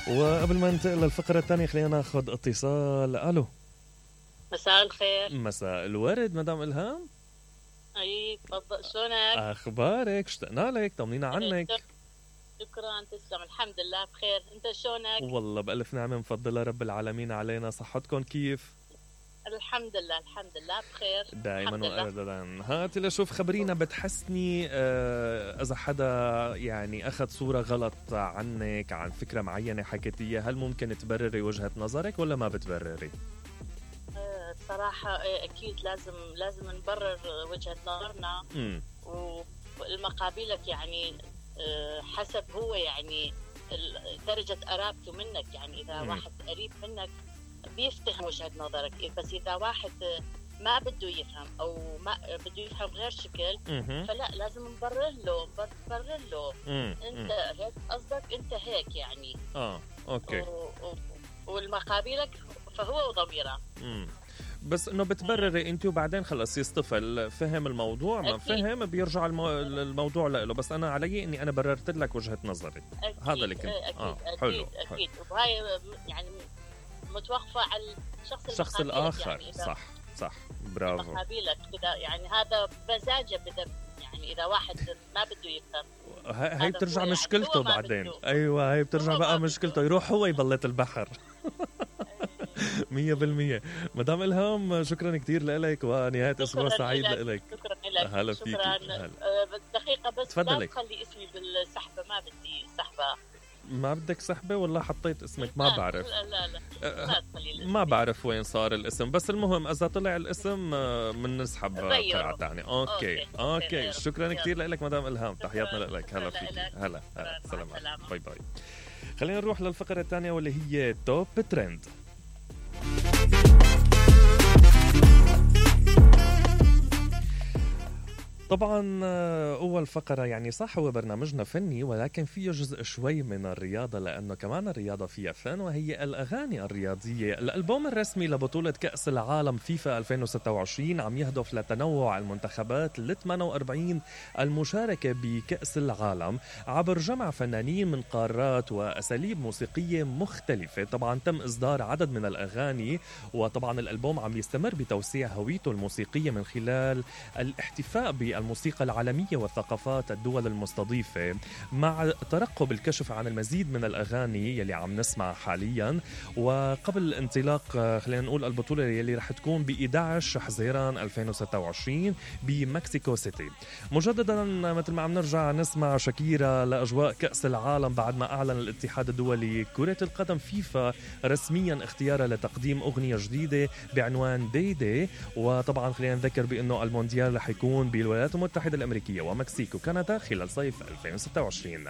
وقبل ما ننتقل للفقرة الثانية خلينا ناخذ اتصال. الو، مساء الخير. مساء الورد مدام إلهام. اي تفضل، شلونك؟ اخبارك؟ اشتقنا لك، طمنينا عنك. شكرا، تسلم. الحمد لله بخير، انت شلونك؟ والله بألف نعمة، مفضلة رب العالمين علينا. صحتكم كيف؟ الحمد لله الحمد لله بخير دائما وابدا. هاتي لشوف، خبرينا، بتحسني اذا حدا يعني اخذ صورة غلط عنك، عن فكرة معينة حكيتيها، هل ممكن تبرري وجهة نظرك ولا ما بتبرري؟ صراحة اكيد لازم نبرر وجهة نظرنا. والمقابلك يعني حسب هو يعني درجة قرابته منك. يعني اذا واحد قريب منك بيفتهم وجهة نظرك، بس إذا واحد ما بده يفهم أو ما بده يفهم غير شكل فلا، لازم نبرر له أنت هيك قصدك، أنت هيك يعني. أوكي. والمقابلك فهو وضميره. بس انه بتبرري انت وبعدين خلص يصطفل، فهم الموضوع ما فهم بيرجع الموضوع له. بس انا علي اني انا بررت لك وجهة نظري. هذا اللي كنت حلو. أكيد. وهاي يعني متوقفة على الشخص الآخر. يعني صح برافو. مقابلك كده يعني، هذا مزاجه بده. يعني إذا واحد ما بده يفهم هاي بترجع مشكلته يعني بعدين. أيوة، هاي بترجع بقى مشكلته، يروح هو يبلط البحر. 100%. مدام إلهام، شكرا كتير لك، ونهاية أسبوع سعيد لك. شكرا لك. هلا فيك. دقيقة بس، تفضلي. لا تخلي اسمي بالسحبة، ما بدي سحبة. ما بدك سحبة؟ والله حطيت اسمك، ما بعرف. لا ما بعرف وين صار الاسم، بس المهم إذا طلع الاسم من نسحب قرعة تانية. أوكي. شكرا كتير لك مدام إلهام، تحياتنا لك. هلا فيك. هلا سلام. باي. خلينا نروح للفقرة الثانية واللي هي توب ترند. طبعا أول فقرة يعني صح هو برنامجنا فني، ولكن فيه جزء شوي من الرياضة، لأنه كمان الرياضة فيها فن، وهي الأغاني الرياضية. الألبوم الرسمي لبطولة كأس العالم فيفا 2026 عم يهدف لتنوع المنتخبات ل 48 المشاركة بكأس العالم عبر جمع فنانين من قارات وأساليب موسيقية مختلفة. طبعا تم إصدار عدد من الأغاني، وطبعا الألبوم عم يستمر بتوسيع هويته الموسيقية من خلال الاحتفاء بالموسيقى العالمية والثقافات الدول المستضيفة، مع ترقب الكشف عن المزيد من الأغاني يلي عم نسمع حاليا. وقبل انطلاق خلينا نقول البطولة يلي رح تكون ب 11 حزيران 2026 بمكسيكو سيتي. مجددا مثل ما عم نرجع نسمع شاكيرا لأجواء كأس العالم بعد ما أعلن الاتحاد الدولي كرة القدم فيفا رسميا اختيارها لتقديم أغنية جديدة بعنوان دي. وطبعا خلينا نذكر بأنه المونديال رح يكون بالولايات المتحدة الأمريكية ومكسيك وكندا خلال صيف 2026.